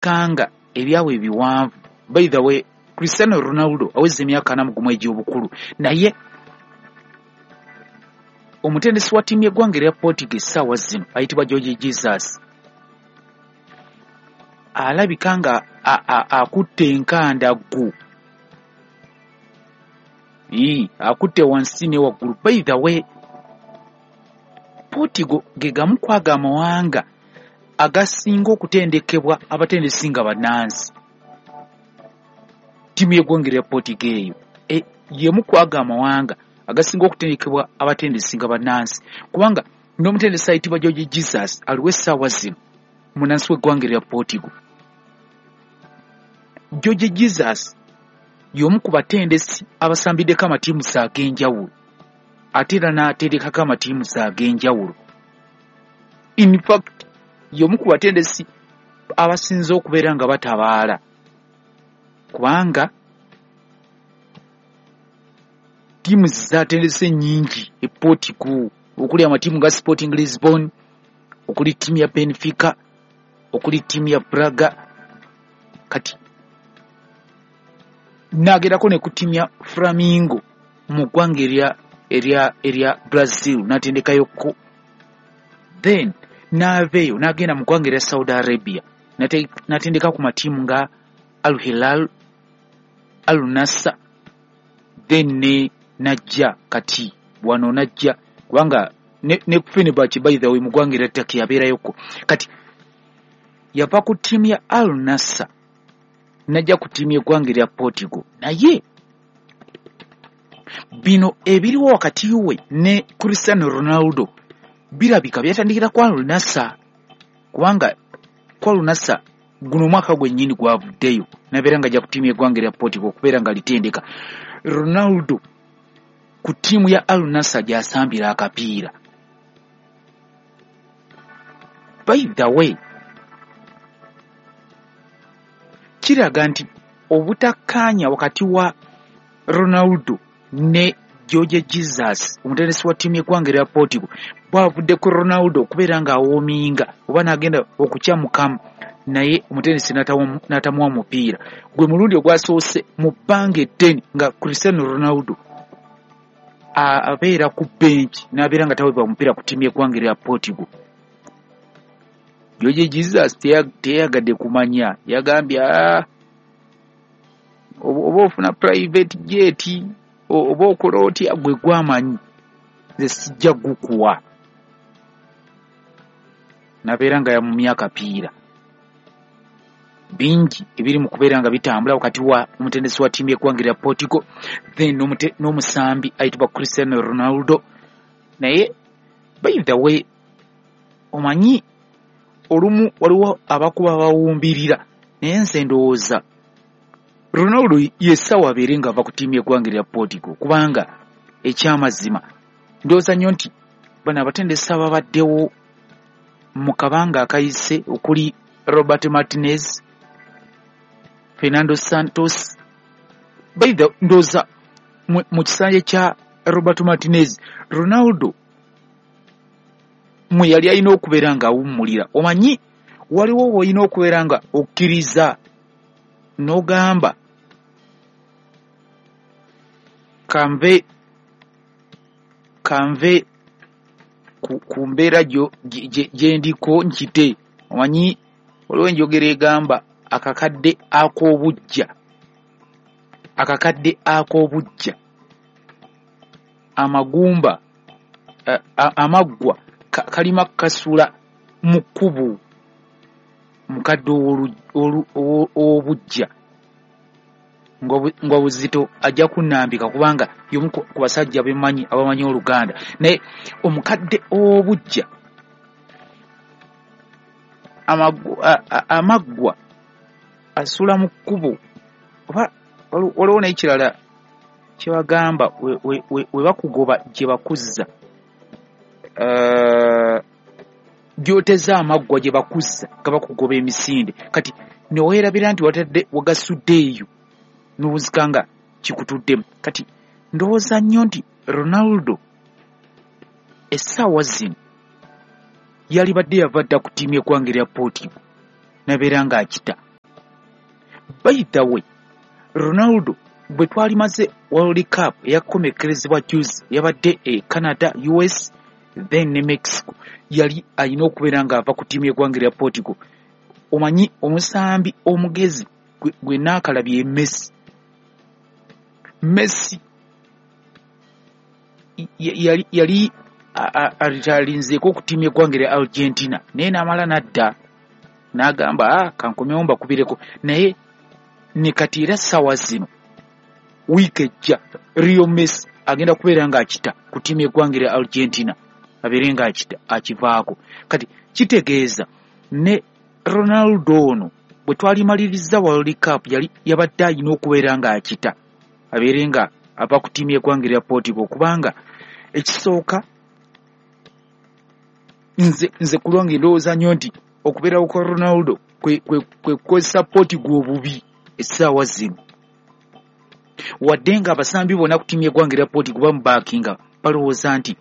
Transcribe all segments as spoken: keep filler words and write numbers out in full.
Kanga ebyabwe ebiwanvu. By the way, Cristiano Ronaldo aweza emyaka ana mu gumu egy'obukulu, naye omutendesi wa ttiimu y'eggwanga erya Portugal essaawa zino ayitibwa Jorge Jesus alabika nga akutte enkandaggo, akutte wansi ne waggulu. By the way, Portugal ge gamu ku ago amawanga agasinga okutendekebwa abatendesi nga bannansi. Ttiimu y'eggwanga erya Portugal eyo e, y'emu ku ago amawanga agasinga okutendekebwa abatendesi nga bannansi, kubanga n'omutendesi ayitibwa Jorge Jesus aliwo essaawa zino munnansi w'eggwanga erya Portugal. Jorge Jesus y'omu ku batendesi abasambiddeko amatiimusi ag'enjawulo, ate era n'aterekako amatiimusi ag'enjawulo. In fact, y'omu ku batendesi abasinze okubeera nga batabaala, kubanga ttiimu zaatendese nnyingi e Portugal, okuli amatiimu nga Sporting Lisbon, okuli ttiimu ya Benfica, okuli ttiimu ya Braga, kati n'agerako ne ku ttiimu ya Flamengo mu ggwanga erya erya erya Brazil, n'atendekayokko. Then n'ava eyo n'agenda mu ggwanga erya Saudi Arabia, n'atendeka ku matiimu nga Al Hilal, Al Nassr, then ne najja kati wano najja kubanga ne, ne Fenerbahce, by the way, mu ggwanga erya Turkey yabeerayokko. Kati yava ku ttiimu ya Al Nassr najja ku ttiimu y'eggwanga erya Portugal. Naye bino ebiriwo wakati we ne Cristiano Ronaldo birabika byatandikira ku Al Nassr, kubanga ku Al Nassr guno omwaka gwennyini gwavuddeyo nabeera nga ajja ku ttiimu y'eggwanga erya Portugal okubeera nga litendeka Ronaldo ku ttiimu ya Al Nassr gy'asambira akapiira. By the way, kiraga nti obutakkaanya wakati wa Ronaldo ne Jorge Jesus omutendesi wa ttiimu y'eggwanga erya Portugal bwavudde ku Ronaldo okubeera ng'awoominga oba n'agenda okukyamukamu, naye omutendesi n'atamuwa mupiira. Gwe mulundi ogwasoose mu bbanga eddene nga Cristiano Ronaldo abeera ku bench n'abeera nga taweebwa mupiira ku ttiimu y'eggwanga erya Portugal. Jorge Jesus teyayagadde kumanya, yagambye oba ofuna private jet oba okola otya gwe gwamanyi, nze sijja gukuwa. Nabeera nga yamumya akapiira. Bingi ebiri mu kubeera nga bitambula wakati wa omutendesi wa ttiimu y'eggwanga erya Portugal then n'omusambi ayitibwa Cristiano Ronaldo. Naye by the way, omanyi olumu waliwo abakuba bawumbirira, naye nze ndowooza Ronaldo yessawa abeere ng'ava ku ttiimu y'eggwanga erya Portugal, kubanga ekyamazima ndowooza nnyo nti bano abatendesi ababaddewo mu kabanga akayise okuli Robert Martinez, Fernando Santos, by the ndowooza mu kisanja kya Robert Martinez Ronaldo mwe yali alina okubeera ng'awummulira. Omanyi waliwo w'olina okubeera nga okkiriza n'ogamba kanve kanve ku, ku mbeera gye ndiko nkite. Omanyi waliwo enjogera egamba akakadde ak'obuggya, akakadde ak'obuggya amagumba amaggwa kalima kasula mu kkubo. Mukadde ow'obuggya ng'obuzito ajja kunnambika kubanga y'omu ku basajja bemmanyi abamanyi Oluganda. Naye omukadde ow'obuggya amaggwa asula mu kkubo. Oba waliwo n'ekirala kye bagamba we bakugoba gye bakuzza, gy'oteze amaggwa gye bakuzza nga bakugoba emisinde. Kati ne weerabira nti watadde wagasudde eyo n'obuzika nga kikutuddemu. Kati ndowooza nnyo nti Ronaldo essaawa zino yalibadde yava dda ku ttiimu y'eggwanga erya Portugal n'abeera ng'akita. By the way, Ronaldo bwe twalimaze World Cup eyakomekerezebwa juzi, yabadde e Canada, U S then ne Mexico, yali alina okubeera ng'ava ku ttiimu y'eggwanga erya Portugal. Omanyi omusambi omugezi gwe naakalabye Messi. Messi yali yali alitalinzeeko ku ttiimu y'eggwanga erya Argentina, naye n'amala n'adda n'agamba ah, kankomyewo mbakubireko. Naye ne kati era ssaawa zino wiiki ejja Lionel Messi agenda kubeera ng'akita ku ttiimu y'eggwanga erya Argentina, abeere ng'akita akivaako. Kati kitegeeza ne Ronaldo ono bwe twalimaliriza World Cup yali yabadde alina okubeera ng'akita abeere nga ava ku ttiimu y'eggwanga erya Portugal, kubanga ekisooka nze nze ku lwange ndowooza nnyo nti okubeerawo kwa Ronaldo kwe kwe kwe kukozesa Portugal obubi essaawa zino. Wadde nga abasambi bonna ku ttiimu y'eggwanga erya Portugal bamubaakinga, balowooza nti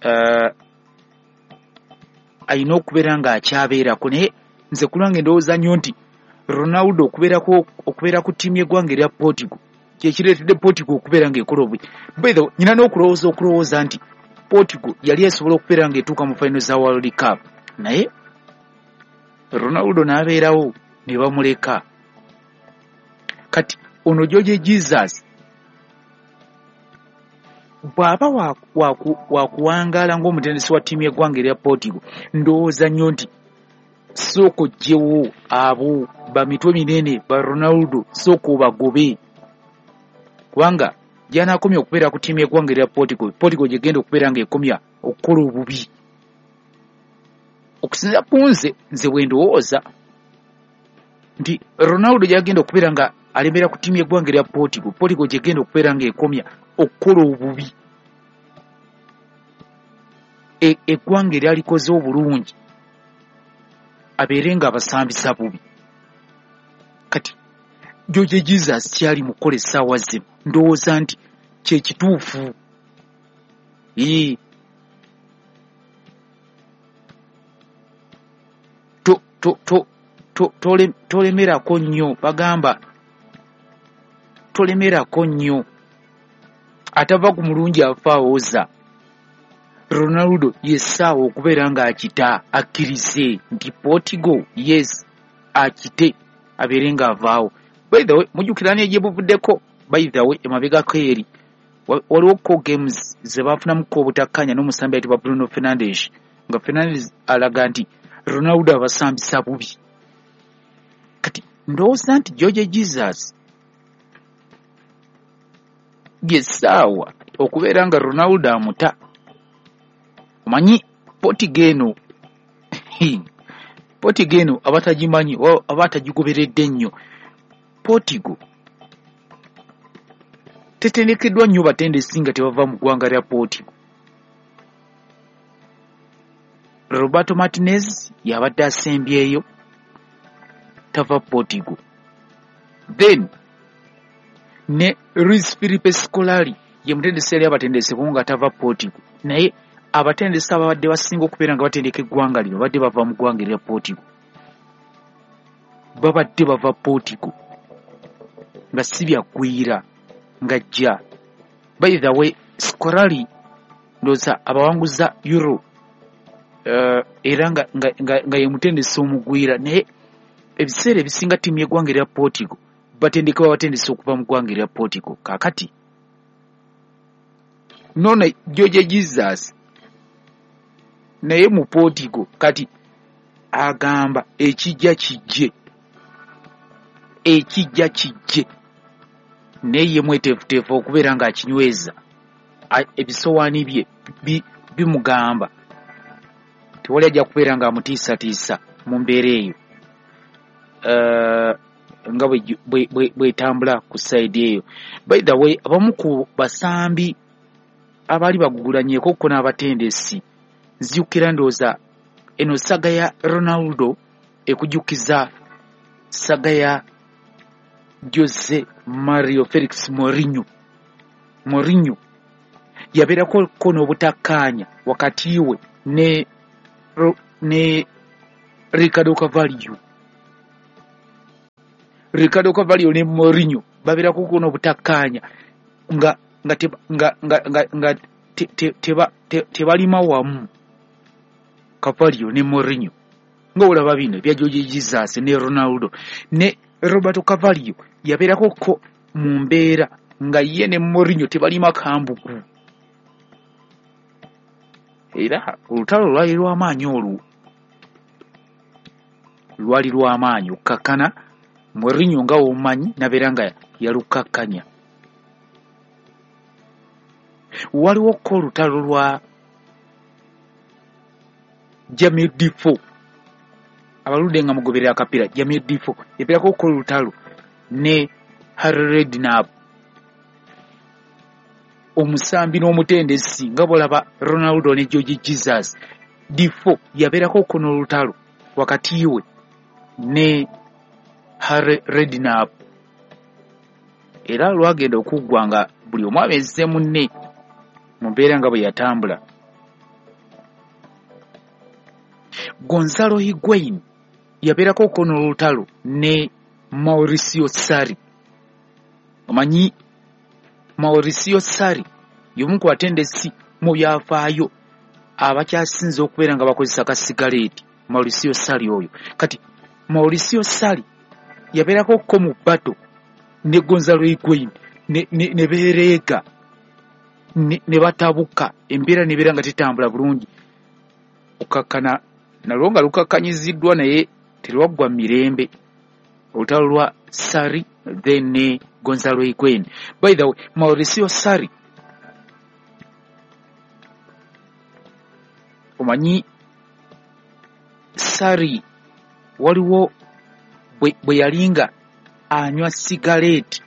uh, alina okubeera ng'akyabeerako, naye nze ku lwange ndowooza nnyo nti Ronaldo okubeerako okubeera ku ttiimu y'eggwanga erya Portugal kye kireetedde Portugal okubeera ng'ekola obubi. By the way, nnina n'okulowooza okulowooza nti Portugal yali esobola okubeera ng'etuuka mu final za World Cup, naye Ronaldo n'abeerawo ne bamuleka. Kati ono Jorge Jesus bw'aba wa kuwangaala ng'omutendesi wa ttiimu y'eggwanga erya Portugal, ndowooza nnyo nti sooka oggyewo abo bamitwe minene ba Ronaldo, sooka obagobe, kubanga gy'anaakomya okubeera ku ttiimu y'eggwanga erya Portugal, Portugal gy'egenda okubeera ng'ekomya okukola obubi. Okusinziira ku nze, nze bwe ndowooza nti Ronaldo gy'agenda okubeera nga alemera ku ttiimu y'eggwanga erya Portugal, Portugal gy'egenda okubeera ng'ekomya okukola obubi. Eggwanga eryalikoze obulungi abeere ng'abasambisa bubi. Kati Jorge Jesus kyali mu kukola essaawa zino, ndowooza nti kye kituufu. Ee, to to to to tole tolemerako nnyo, bagamba tolemerako nnyo, atava ku mulungi afa awoza. Ronaldo yessaawa okubeera ng'akita, akkirize nti Portugal yes akite abeere ng'avaawo. By the way, mujjukira ne gye buvuddeko, by the way, emabegako eri waliwo ko games ze baafunamuko obutakkaanya n'omusambi ayitibwa Bruno Fernandes, nga Fernandes alaga nti Ronaldo abasambisa bubi. Kati ndowooza nti Jorge Jesus yessaawa okubeera nga Ronaldo amuta. Omanyi Portugal eno, Portugal eno abatagimanyi abatagigoberedde nnyo, Portugal tetendekeddwa nnyo batendesi nga tebava mu ggwanga lya Portugal. Roberto Martinez yabadde asembyeyo, tava Portugal. Then ne Luis Filipe Scolari ye mutendesi yali abatendesi nga tava Portugal, naye abatendesi ababadde basinga okubeera nga batendeka eggwanga lino babadde bava mu ggwanga erya Portugal, babadde bava Portugal nga si byaggwira nga jja. By the way, Scolari ndowooza abawanguza Euro uh, era nga, nga, nga, nga ye mutendesi omugwira, naye ebiseera ebisinga ttiimu y'eggwanga erya Portugal batendekebwa batendesi okuva mu ggwanga erya Portugal. Kaakati nono Jorge Jesus naye mu Portugal kati agamba ekijja kijje, ekijja kijje, naye ye mweteefuteefu okubeera ng'akinyweza. Ebisowaani bye bimugamba tewali ajja kubeera ng'amutiisatiisa mu mbeera eyo uh, nga bwetambula ku sayidi eyo. By the way, abamu ku basambi abaali bagugulanyeko ko n'abatendesi, nzijukira ndowooza eno saga ya Ronaldo ekujjukiza saga ya Jose Mario Felix Mourinho. Mourinho yabeerako ko n'obutakkaanya wakati we ne ne Ricardo Carvalho. Ricardo Carvalho ne Mourinho babeerako ko n'obutakkaanya nga nga nga nga nga teba tebalima wamu. Carvalho ne Mourinho nga olaba bino ebya Jorge Jesus ne Ronaldo ne Roberto Carvalho yabeerako ko mu mbeera nga ye ne Mourinho tebalima kambuku. Era olutalo lwali lw'amaanyi, olwo lwali lw'amaanyi okkakkana. Mourinho nga womanyi nabeera nga yalukakkanya. Waliwo ko olutalo lwa Jermaine Defoe, abaludde nga mugoberera akapiira. Jermaine Defoe yabeerako ko olutalo ne Harry Redknapp, omusambi n'omutendesi, nga bw'olaba Ronaldo ne Jorge Jesus. Defoe yabeerako ko n'olutalo wakati we ne Harry Redknapp, era lwagenda okuggwa nga buli omu abeeze munne mu mbeera nga bwe yatambula. Gonzalo Higuain yabeerako ko n'olutalo ne Mauricio Sarri. Omanyi Mauricio Sarri y'omu ku batendesi mu byafaayo abakyasinze okubeera nga bakozesa kasigaleeti. Mauricio Sarri oyo. Kati Mauricio Sarri yabeerako ko mu bato ne Gonzalo Higuain ne, ne, ne beereega ne, ne batabuka, embeera nebeera nga tetambula bulungi. Okukakkana nalwo nga lukakkanyiziddwa naye terwaggwa mirembe, olutalo lwa Sarri then ne Gonzalo Higuain. By the way, Mauricio Sarri omanyi Sarri waliwo bwe yalinga anywa sigaleeti.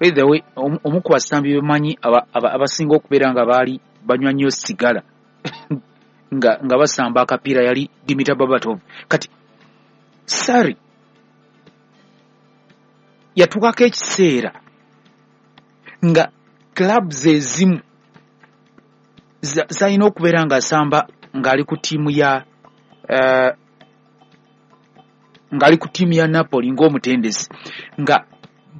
By the way, omu ku basambi bemanyi abasinga okubeera nga baali banywa nnyo sigala nga, nga basamba akapiira yali Dimitar Berbatov. Kati Sarri yatuukako ekiseera nga clubs ezimu zalina okubeera ng'asamba ng'ali ku ttiimu ya uh, ng'ali ku ttiimu ya Napoli ng'omutendesi, nga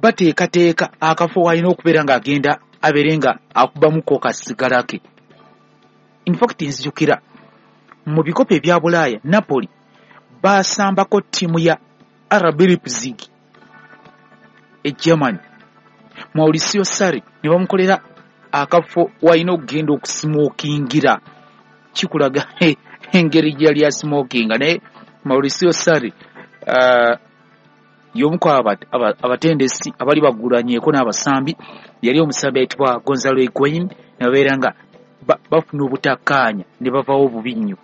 bateekateeka akafo w'alina okubeera ng'agenda abeere nga akubamuko kasigala ke. In fact nzijukira mu bikopo ebya Bulaaya Napoli baasambako ttiimu ya R B Leipzig e Germany. Mauricio Sarri ne bamukolera akafo w'alina okugenda okusimokingira, kikulaga engeri gye yali asimokinga. Naye Mauricio Sarri uh, y'omu ku abatendesi abali bagulanyeko n'abasambi, yali omusambi ayitibwa Gonzalo Higuain, ne babeera nga bafuna obutakkaanya ne bavaawo bubi nnyo,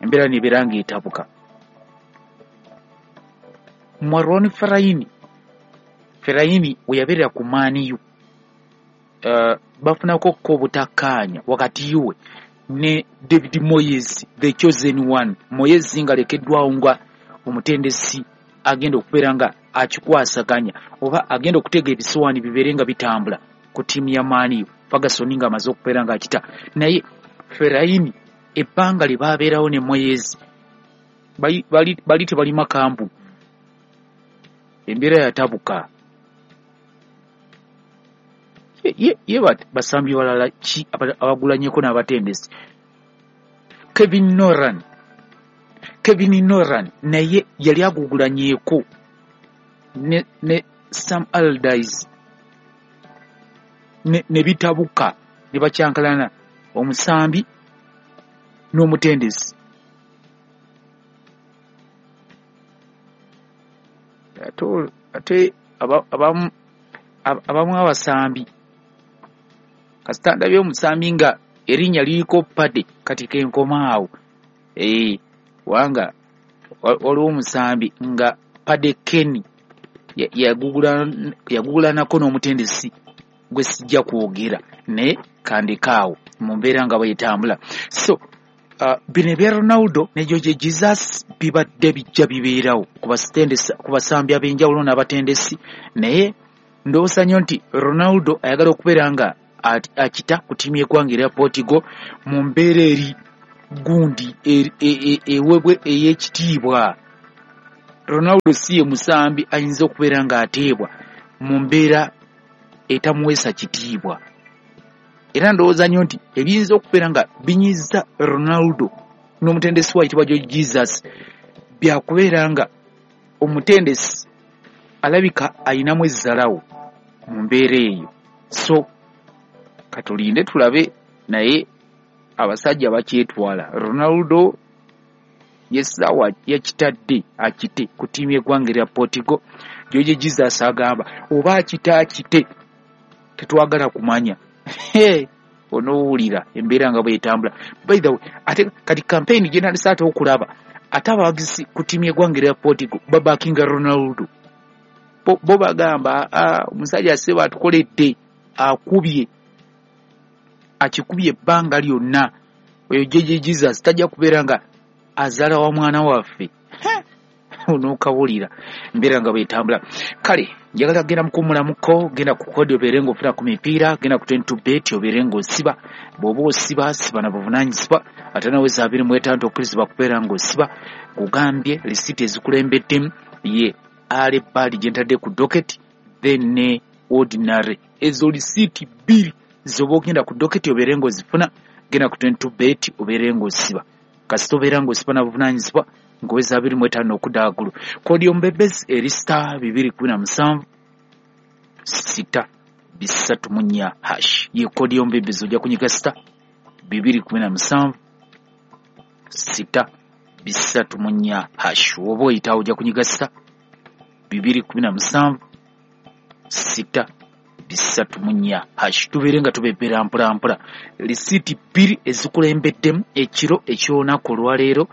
embeera nebeera ng'etabuka. Marouane Fellaini, Fellaini we yabeerera ku Man U, uh, bafunako ko obutakkaanya wakati we ne David Moyes, the chosen one. Moyes ng'alekeddwawo nga omutendesi agenda okubeera nga akikwasaganya oba agenda okutega ebisuwaani bibeere nga bitambula ku ttiimu ya Man U, Ferguson ng'amaze okubeera ng'akita. Naye Fellaini ebbanga lye baabeerawo ne Moyes bali, bali, bali tebalima kambu, embeera yatabuka. Ye, ye, ye basambi balala ki abagulanyeko n'abatendesi? Kevin Nolan, Kevin Nolan naye yali agugulanyeeko ne, ne Sam Allardyce ne, ne bitabuka ne bakyankalana omusambi n'omutendesi. Ate ate abamu abamu abasambi kasita ndabye omusambi nga erinnya liriko Pade, kati kenkoma awo. Eh, wanga waliwo omusambi nga Pade Kenny yagugulanako n'omutendesi gwe sijja kwogera, naye kandekaawo mu mbeera nga bwetambula. So uh, bino ebya Ronaldo ne Jorge Jesus bibadde bijja bibeerawo ku basambi ab'enjawulo n'abatendesi, naye ndowooza nnyo nti Ronaldo ayagala okubeera nga akita ku ttiimu y'eggwanga erya Portugal mu mbeera eri gundi ewebwe ey'ekitiibwa. Ronaldo si ye musambi ayinza okubeera ng'ateebwa mu mbeera etamuweesa kitiibwa. Era ndowooza nnyo nti ebiyinza okubeera nga binyiza Ronaldo n'omutendesi we ayitibwa Jorge Jesus byakubeera nga omutendesi alabika ayinamu ezzalawo mu mbeera eyo. So katulinde tulabe, naye abasajja bakyetwala. Ronaldo yessaawa yakitadde akite ku ttiimu y'eggwanga erya Portugal. Jorge Jesus agamba oba akite akite, tetwagala kumanya. Onoowulira embeera nga bw'etambula. By the way, ate kati campaign gye ntandise ate okulaba, ate abawagizi ku ttiimu y'eggwanga erya Portugal babackinga Ronaldo. Bo, bo bagamba omusajja ssebo atukoledde, akubye, akikubye ebbanga lyonna. Oyo Jorge Jesus tajja kubeera nga azaala wa mwana waffe. Onookawulira embeera nga bw'etambula. Kale njagala genda mukuwummulamuko, genda ku kodi obeere ng'ofuna ku mipiira, genda ku twenty two bet obeere ng'osiba. Bw'oba osiba, siba na buvunaanyizibwa, ate naweza abiri mu etaano tokkirizibwa kubeera ng'osiba. Kugambye lisiiti ezikulembeddemu ye early bird gye ntadde ku docket, then ne ordinary. Ezo lisiiti bbiri z'oba ogenda ku docket obeere ng'ozifuna, genda ku twenty two bet obeere ng'osiba. Kasita obeera ng'osiba na buvunaanyizibwa, ng'oweza abiri mu etaano okudda waggulu. Kodi y'omubebezi eri star bibiri kumi na musanvu sita bisatu mu nnya hash. Ye kodi y'omubebezi, ojja kunyiga star bibiri kumi na musanvu sita bisatu mu nnya hash. Oba oyitawo ojja kunyiga star bibiri kumi na musanvu sita bisatu mu nnya hash. Tubeere nga tubebbera mpola mpola. Lisiiti bbiri ezikulembeddemu ekiro eky'olunaku olwaleero,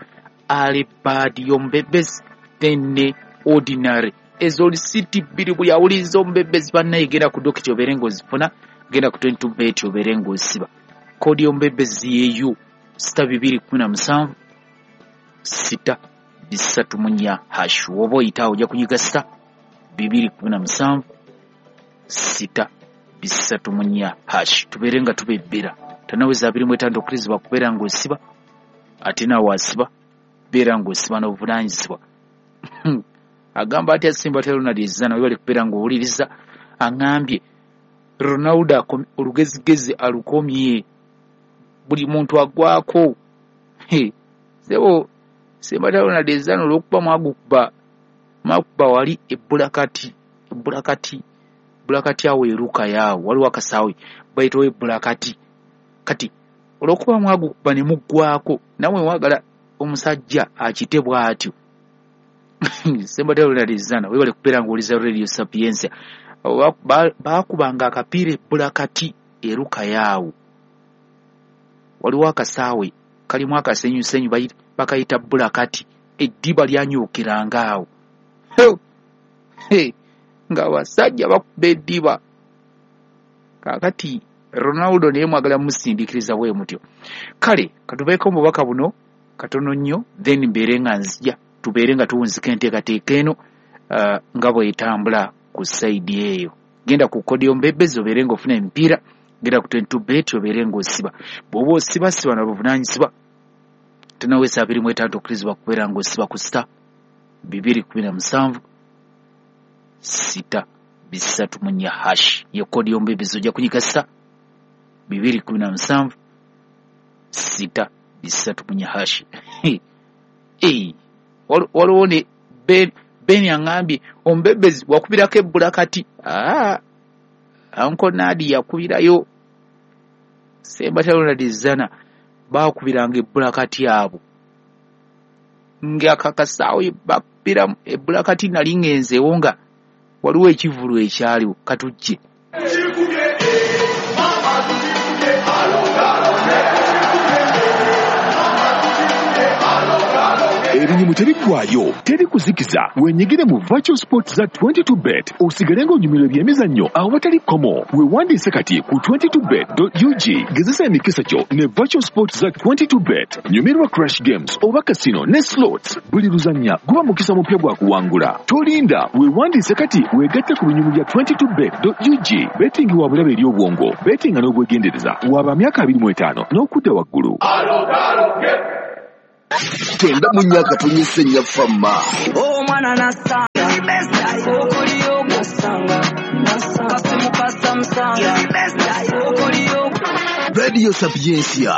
early bird y'omubebezi then ne ordinary. Ezo lisiiti bbiri buli awuliriza omubebezi bannaye, genda ku docket obeere ng'ozifuna, genda ku twenty two bet obeere ng'osiba. Kodi y'omubebezi yeeyo sita bibiri kumi na musanvu sita bisatu mu nnya hash. Oba oyitawo ojja kunyiga sita bibiri kumi na musanvu sita bisatu mu nnya hash. Tubeere nga tubebbera. Tanaweza abiri mu etaano tokkirizibwa kubeera ng'osiba, ate naawe asiba beera ng'osiba n'obuvunaanyizibwa. Agamba atya Simba Ronald Ezana, webale kubeera ng'owuliriza. Aŋŋambye Ronaldo olugezigezi alukomye, buli muntu agwako. Sebo Simba Ronald Ezana olw'okuba mwagukuba mwakuba wali ebbulakati ebbulakati ebbulakati awo eruka yaawo waliwo akasaawe bayitawo ebbulakati. Kati olw'okuba mwagukuba ne muggwako, nammwe mwagala omusajja akite bw'atyo. Semba Ronald Ezana, webale kubeera ng'owuliriza Radio Sapientia. Baakubanga akapiira ebbulakati eruka yaawo, waliwo akasaawe kalimu akasenyusenyu bakayita bbulakati, eddiba lyanyuukiranga awo ng'abasajja bakuba eddiba. Kaakati Ronaldo naye mwagala musindiikiriza bwe mutyo. Kale katubeeko omubaka buno katono nnyo, then mbeere nga nzija tubeere nga tuwunzika enteekateeka eno uh, nga bw'etambula ku sayidi eyo. Genda ku kodi y'omubebezi obeere ng'ofuna emipiira, genda ku twenty two bet obeere ng'osiba. Bw'oba osiba, siba na buvunaanyizibwa. Tenaweesa abiri mu etaano tokkirizibwa kubeera ng'osiba ku sita bibiri kumi na musanvu sita bisatu mu nnya hash. Ye kodi y'omubebezi, ojja kunyiga sita bibiri kumi na musanvu sita bisatu mu nnya hash. Waliwo ne Ben, Ben aŋŋambye omubebezi wakubirako ebbulakati. Aa, Uncle Nadi yakubirayo. Semba Ronald Ezana baakubiranga ebbulakati abo ng'akakasaawe bakubiramu ebbulakati. Nali ŋŋenzeewo nga waliwo ekivvulu ekyaliwo. Katujje. Ebinyumu tebiggwayo, teri kuzikiza. Wenyigire mu virtual sports za twenty two bet osigale ng'onyumirwa ebyemizannyo awatali kkomo. Weewandiise kati ku twenty two bet dot U G. Gezesa emikisa gyo ne virtual sports za twenty two bet. Nyumirwa crash games oba casino ne slots. Buli luzannya guba mukisa mupya gwa kuwangula. Tolinda, weewandiise kati weegatte ku binyumu bya twenty two bet dot U G. Betting wa bulabe eri obwongo, bettinga n'obwegendereza. Waba myaka abiri mu etaano n'okudda waggulu. Alo, alo, get. Kyenda mu nnya akatonyesa ennya Fama. Omwana nasanga okoliyo nasanga kasimu kasamusanga okoliyo Radio Sapientia.